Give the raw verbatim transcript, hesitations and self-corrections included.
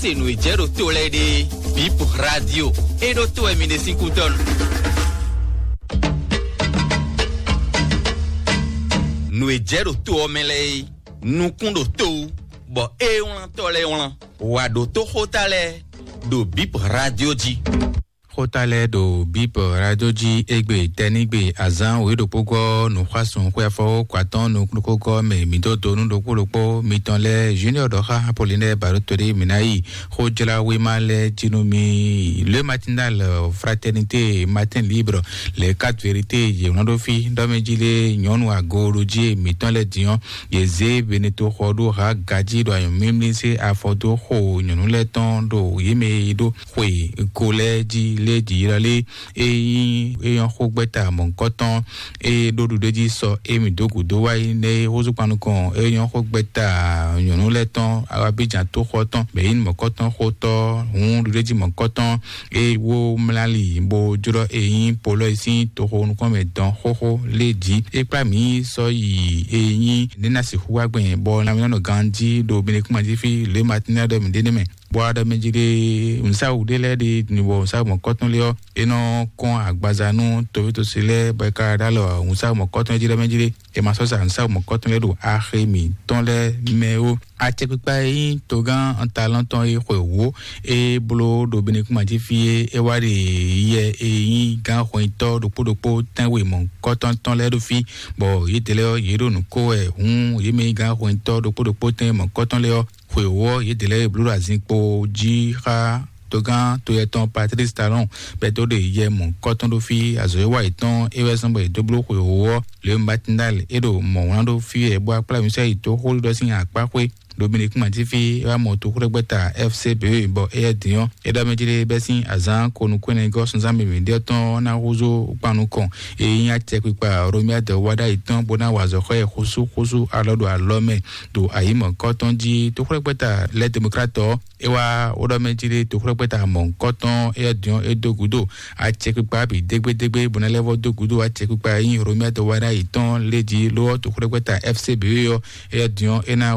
Se nǔ e jɛ ɖo to lɛ́ɛ ɖe, Bip Radio, e ɖo to wɛ mi ɖe sín kútɔ́ nu. Nǔ e jɛ ɖo to ɔ́ mɛ lɛ́ɛ é, nukún ɖo to wú, bɔ é wlán tɔ́ lɛ́ɛ wlán. Wǎ ɖo tó xóta lɛ́ɛ ɖo Bip Radio jí. Xóta lɛ́ɛ ɖo Bip Radio jí égbé tɛ́nígbe azán wěɖokpógɔ́ nǔxwásún xwé afɔwó kwatɔ́n nukúnkógɔ́ mɛ mǐ dó do nú ɖokpó ɖokpó mitɔn lɛ́ɛ Junior ɖɔ xá Apollinaire Barotoli mǐ ná yi xójláwéma lɛ́ɛ jí nú mì. Le Matinal, Fraternité, Matin Libre, Les Quatre Vérités, yě wlán ɖó fí ɖɔ mɛ jí lé nyɔ̌nu agooɖojí mǐtɔn lɛ́ɛ din ɔ́, yě zé Beneto xɔ ɖó ha gají ɖo anyɔ̌mímlí zé afɔ dó xo nyɔ̌nu lɛ́ɛ tɔn ɖo yě mɛ e ɖó xwe ko lɛ́ɛ jí lé jǐ lɔ lé. E nyí é nyɔ́ xó gbɛ́ta mɔ̌hunkɔtɔn, e ɖó ɖuɖéjí sɔ émí dó gǔdo wá yi nɛ́ é húzú kpan nukɔn é nyɔ́ xó gbɛ́ta nyɔ̌nu lɛ́ɛ tɔn Abidjan tóxɔ tɔn bɛ yí mɔ̌kɔtɔn xótɔ́ hǔn ɖuɖéjí mɔ̌kɔtɔn e wó mlá li bó jlɔ́ e nyí polɔ́ e sín toxo nukɔn mɛ dɔn xóxó lé jí. É kplá mǐ sɔ́ yi e nyí nɛ́ ná sixú wá gbɛn bɔ nɔ mǐ nɔ ganjí ɖo Benekúnma jí fí lě Matinée ɖɔ mǐ ɖe nɛ́ mɛ. Bɔ aɖɔ mɛ jí ɖe nǔsáwǔ ɖé lɛ́ɛ ɖe nǔbɔ nǔsáwǔ mɔ̌kɔtɔn lé ɔ́, é nɔ kɔn agbaza nú toví-tosi lɛ́ɛ bɔ é ka ɖó alɔ nǔsáwǔ mɔ̌kɔtɔn jí ɖɔ mɛ jí ɖe. È ma sɔ́ sa nǔsáwǔ mɔ̌kɔtɔn lɛ́ɛ ɖo axi mǐtɔn lɛ́ɛ mɛ ó. Acɛkpikpa e nyí togán Antalɔn tɔn e xwe wǒ e bló ɖo Benekúnma jí fí é, é wá ɖe yɛ e nyí gán hwɛnyitɔ́ ɖokpó ɖokpó tɛ́nwe mɔ̌kɔtɔn tɔn lɛ́ɛ ɖo fí, bɔ yědɛɛ lɛ́ɛ ɔ́, yě ɖo nǔ ko wɛ hǔn yě mɛ e nyí gán hwɛnyitɔ́ ɖokpó ɖokpó tɛ́nwe mɔ̌kɔtɔn lɛ́ɛ ɔ́, xwe wǒ ɔ́, yědɛɛ lɛ́ɛ e bló ɖo azinkpo jí xá togán toyɛ tɔn Patrice Talon bɛ́ dó ɖe yɛ mɔ̌kɔtɔn ɖó fí azɔ̌ e wa yětɔn é wɛ zɔ́n bɔ yě dó bló xwe wǒ ɔ́. Le Matinal é ɖo mɔ̌ wlán ɖó fí wɛ bó wá kplá mǐ sɔ́ yi dó xó ɖiɖɔ sín akpá xwé ɖo Benekúnma jí fí é wá mɔ toxóɖɛgbɛ́ta F C B bɔ éyɛ́ din ɔ́, é ɖɔ mɛ jí ɖé bɛ́ sín azǎn ko nukúnnɛgɔ́ sunzán mǐmí ɖé ɔ́ tɔn ná húzú kpan nukɔn e nyí acɛkpikpa Romuald Wadagni tɔn bó ná wa azɔ̌ xá ɛ xúsú xúsú alɔ ɖo alɔ mɛ ɖo ayǐmɔ̌kɔ́ tɔn jí. Toxóɖɛgbɛ́ta lɛ́ Demokrat ɔ́, é wá wó ɖɔ mɛ jí ɖé toxóɖɛgbɛ́ta mɔ̌hunkɔtɔn éyɛ́ din ɔ́ é dó gǔdo acɛkpikpa bǐ dégbédégbé bó ná lɛ́ vɔ́ dó gǔdo acɛkpikpa e nyí Romuald Wadagni tɔn lé jí ló ɔ́ toxóɖɛgbɛ́ta F C B ɔ́ éyɛ́ din ɔ́ é ná